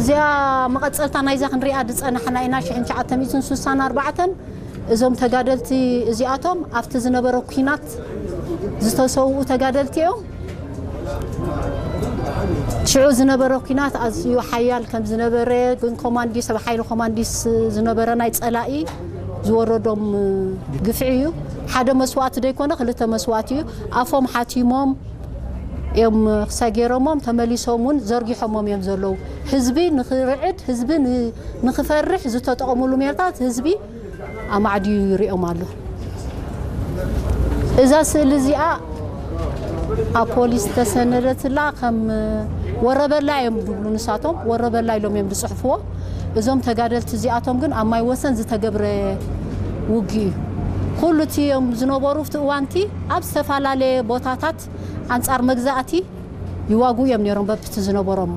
እዚኣ መቐጸልታ ናይዛ ክንሪኣ ዝጸናሕና ኢና። ሽሕን ትሽዓተ ሚእትን ስሳን ኣርባዕተን እዞም ተጋደልቲ እዚኣቶም ኣብቲ ዝነበረ ኲናት ዝተሰውኡ ተጋደልቲ እዮም። ሽዑ ዝነበረ ኲናት ኣዝዩ ሓያል ከም ዝነበረ፣ ግን ኮማንዲስ፣ ኣብ ሓይሊ ኮማንዲስ ዝነበረ ናይ ጸላኢ ዝወረዶም ግፍዒ እዩ። ሓደ መስዋእቲ ዘይኮነ ክልተ መስዋእቲ እዩ። ኣፎም ሓቲሞም እዮም ክሳይ ገይሮሞም፣ ተመሊሶም እውን ዘርጊሖሞም እዮም ዘለዉ። ህዝቢ ንኽርዕድ፣ ህዝቢ ን-፣ ንኽፈርሕ ዝተጠቐሙሉ ሜላታት ህዝቢ ኣማዕድዩ ይሪኦም ኣሎ። እዛ ስእሊ እዚኣ ኣብ ፖሊስ ተሰነደትላ። ከም ወረበላ እዮም ዝብሉ ንሳቶም፣ ወረበላ ኢሎም እዮም ዝፅሕፍዎ። እዞም ተጋደልቲ እዚኣቶም ግን ኣብ ማይ ወሰን ዝተገብረ ውግእ እዩ። ኩሉ እቲ እዮም ዝነበሩ፣ ኣብቲ እዋንቲ ኣብ ዝተፈላለየ ቦታታት ኣንጻር መግዛእቲ ይዋግኡ እዮም ነይሮም፣ በብቲ ዝነበሮም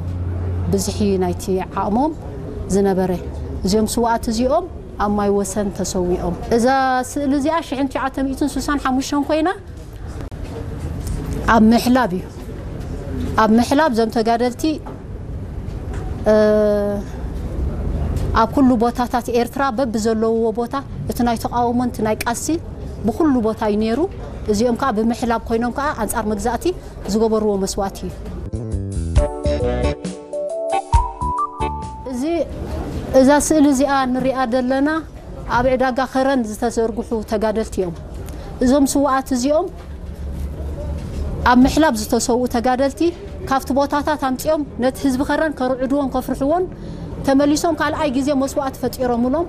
ብዝሒ ናይቲ ዓቕሞም ዝነበረ። እዚኦም ስውኣት እዚኦም ኣብ ማይ ወሰን ተሰዊኦም። እዛ ስእሊ እዚኣ ሽሕን ትሽዓተ ሚእትን ስሳን ሓሙሽተን ኮይና፣ ኣብ ምሕላብ እዩ። ኣብ ምሕላብ እዞም ተጋደልቲ፣ እ፣ ኣብ ኩሉ ቦታታት ኤርትራ በብዘለውዎ ቦታ እቲ ናይ ተቓውሞን እቲ ናይ ቃልሲ ብኩሉ ቦታ እዩ ነይሩ። እዚኦም ከዓ ብምሕላብ ኮይኖም ከዓ ኣንጻር መግዛእቲ ዝገበርዎ መስዋእቲ እዩ። እዚ፣ እዛ ስእሊ እዚኣ ንሪኣ ዘለና ኣብ ዕዳጋ ከረን ዝተዘርግሑ ተጋደልቲ እዮም። እዞም ስውኣት እዚኦም ኣብ ምሕላብ ዝተሰውኡ ተጋደልቲ ካብቲ ቦታታት ኣምፂኦም ነቲ ህዝቢ ከረን ከርዕድዎን ከፍርሕዎን ተመሊሶም ካልኣይ ግዜ መስዋእቲ ፈጢሮምሎም፣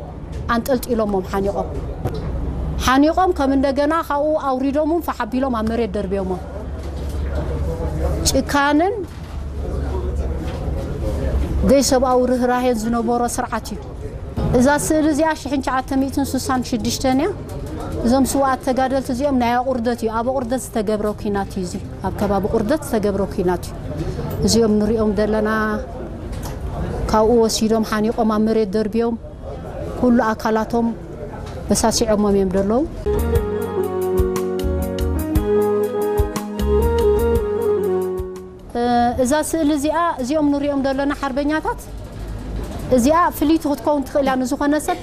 ኣንጠልጢሎሞም ሓኒቖም። ሓኒቖም ከም እንደገና ካብኡ ኣውሪዶምን ፋሕ ኣቢሎም ኣብ መሬት ደርብዮሞም። ጭካንን ዘይሰብኣዊ ርህራሄን ዝነበሮ ስርዓት እዩ። እዛ ስእሊ እዚኣ ሽሕን ትሽዓተ ሚእትን ስሳን ሽዱሽተን እያ። እዞም ስውኣት ተጋደልቲ እዚኦም ናይ ኣቑርደት እዩ፣ ኣብ ኣቑርደት ዝተገብረ ኲናት እዩ እዚ፣ ኣብ ከባቢ ቁርደት ዝተገብረ ኲናት እዩ። እዚኦም ንሪኦም ዘለና ካብኡ ወሲዶም ሓኒቖም ኣብ መሬት ደርብዮም ኩሉ ኣካላቶም በሳሲዖሞም እዮም ዘለዉ። እ፣ እዛ ስእሊ እዚኣ፣ እዚኦም ንሪኦም ዘለና ሓርበኛታት፣ እዚኣ ፍልይቲ ክትከውን ትኽእል እያ። ንዝኾነ ሰብ